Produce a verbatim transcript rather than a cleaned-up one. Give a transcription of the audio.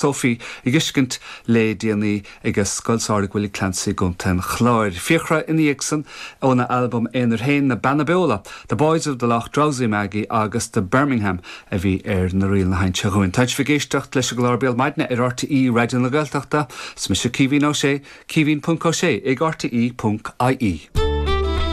Sophie ag tuiscint le déanaí ag Scoil Samhraidh Willie Clancy gContae an Chláir. Fiachra ina dhiaidh san óna albam aonair féin na Beanna Beola, The Boys of the Lough Drowsy Maggie agus the Birmingham a bhí ar na ríleanna seinnte dhúinn. Tá sibh ag éisteacht leis an gclár Béal Maidine ar RTÉ Raidió na Gaeltachta, Is mise Caoimhín Ó Sé, caoimhín.ó sé ag RTÉ.ie.